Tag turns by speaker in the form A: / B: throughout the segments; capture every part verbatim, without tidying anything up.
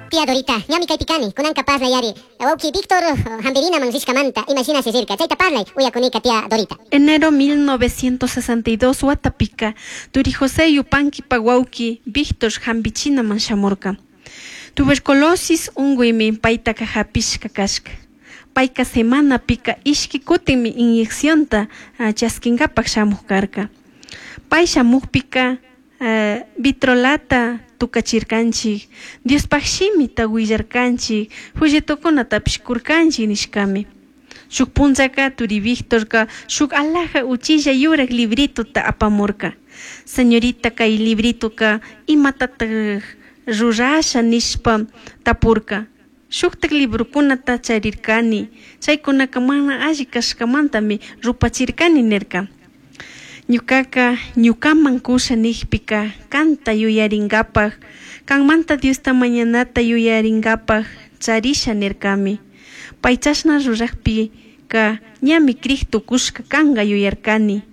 A: Tía Dorita, ñami kaypi kani, kunanka parlay ari. Wawki Víctor hampirinaman rishkamanta, imashinashi rirka, chayta parlay, uyakunika tía Dorita.
B: Enero mil novecientos sesenta y dos watapika, turi José Yupanquipa wawki Víctor hampichinaman shamurka. Tuberculosis unkuymi paytaka hapishka kashka. Payka semanapika ishki kutinmi inyeccionta chaskinkapak shamuk karka. Pay shamukpika uh, vitrolata tukachirkanchik, Diospaj shimita willarkanchik, folletokunatapish kurkanchik nishkami. Shuk punllaka turi Victorka shuk alaja uchilla yurak librituta apamurka. "Señorita, kay librituka imatatak rurasha?" nishpa tapurka. "Shuktak librokunata charirkani, chaykunaka mana alli kashkamantami rupachirkani", nirka. "Ñukaka ñukaman kusha nijpika kanta yuyarinkapak, kanmanta Diosta mañanata yuyarinkapak charisha", nirkami. Pay chashna rurakpika ñami crik tukushka kanka yuyarkani.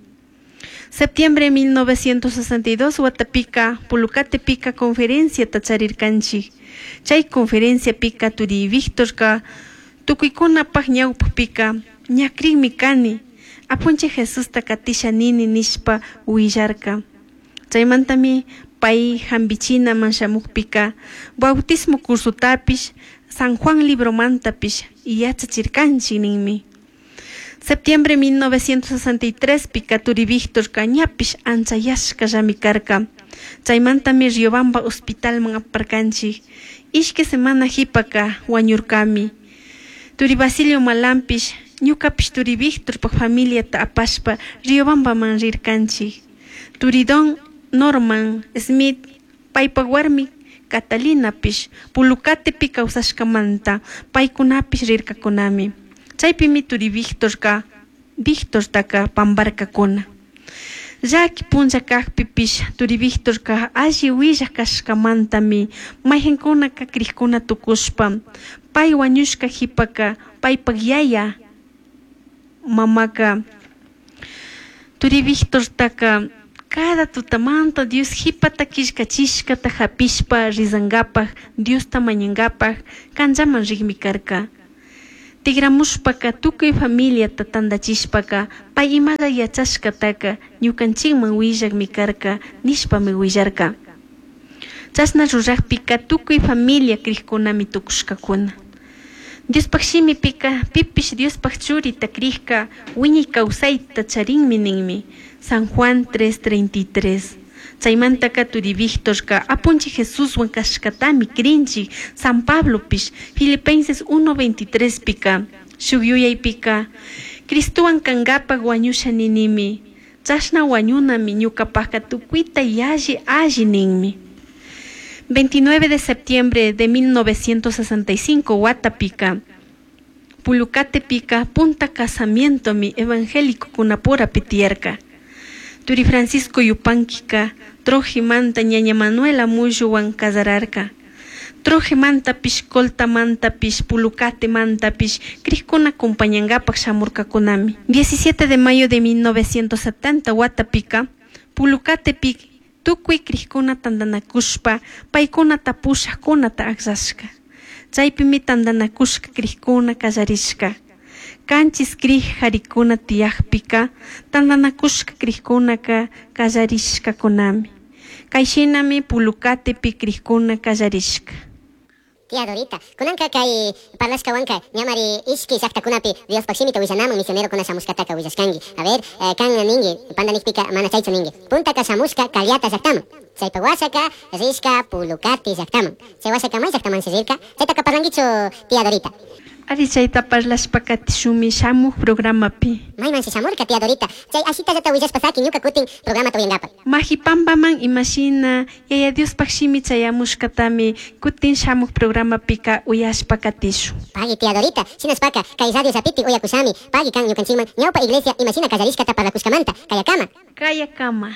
B: Septiembre mil novecientos sesenta y dos watapika Pulucatepika conferenciata charirkanchik. Chay conferenciapika turi Victorka tukuykunapak ñawpakpika "ña crikmi kani, Apunchik Jesusta katisha nini" nishpa willarka. Chaymantami pay hampichinaman shamukpika bautismo cursotapish, San Juan libromantapish yachachirkanchik ninmi. Septiembre mil novecientos sesenta y tres pika turi Victorka ñapish anchayashkallami karka. Chaymantami Riobamba hospitalman aparkanchik. Ishki semana hipaka wañurkami. Turi Basilio Malampish, ñukapish turi Victorpak familiata apashpa Riobambaman rirkanchik. Turi Don Norman Smith, paypak warmi Catalinapish Pulucatepi kawsashkamanta paykunapish rirkakunami. Chaypimi turi Victorka Victortaka pamparkakuna. Llaki punlla kakpipish turi Victorka alli willak kashkamantami maykankunaka krikkuna tukushpa pay wañushka hipaka paypak yaya mamaka turi Victortaka cada tutamanta Dios hipata killkachishkata hapishpa rizankapak, Diosta mañankapak kanchaman rikmi karka. Tigramushpaka tukuy familiata tantachishpaka pay imalla yachashkataka ñukanchikman willakmi karka nishpami willarka. Chashna rurakpika tukuy familia krikkunami tukushkakuna. Diospaj shimipika pipish Diospaj churita krikka wiñay kawsayta charinmi ninmi. San Juan tres treinta y tres. Chaymantaka turi Victorka Apunchik Jesuswan kashkatami krinchik. San Pablopish Filipenses uno veintitrés pika shuk yuyaypika "Cristowan kankapak wañusha ninimi, chashna wañunami ñukapaka tukuyta yalli alli" ninmi. veintinueve de septiembre de mil novecientos sesenta y cinco watapika Pulucatepika punta casamientomi evangélico kunapurapi tiyarka. Turi Francisco Yupanquika Trojimanta ñaña Manuela Mulluwan kasararka. Trojimantapish, Coltamantapish, Pulucatemantapish krikkuna acompañankapak shamurkakunami. diecisiete de mayo de mil novecientos setenta watapika Pulucatepi tukuy krikkuna tantanakushpa paykunata pushakkunata akllashka. Chaypimi tantanakushka krikkuna kallarishka. Kanchis krik karikuna tiyakpika tantanakushka krikkunaka kallarishkakunami. Kayshinami Pulucatepi krikkuna kallarishka.
A: Tía Dorita, kunanka kay parlashkawanka ñamari ishki llaqtakunapi Diospaj shimita willanaman misionerokuna shamushkataka willashkanki. A ver, eh, kan ninki, pandanikpika mana chaychu ninki. Puntaka shamushka Callata llaqtaman. Chaypa washaka rishka Pulucati llaqtaman. Chay washaka may llaqtamanshi rirka. Chaytaka parlankichu, tía Dorita?
B: Ari, chayta parlashpa katishumi shamuk programapi.
A: Maymanshi shamurka, tía Dorita? Chay ashitallata willashpa saki ñuka kutin programata uyankapak.
B: Majipambaman imashina Yaya Diospaj shimi chayamushkatami kutin shamuk programapika uyashpa katishun.
A: Pagui, tía Dorita, shinashpaka kay radio llapiti uyakushami. Pagui kan ñukanchikman ñawpa iglesia imashina kallarishkata parlakushkamanta. Kayakama.
B: Kayakama.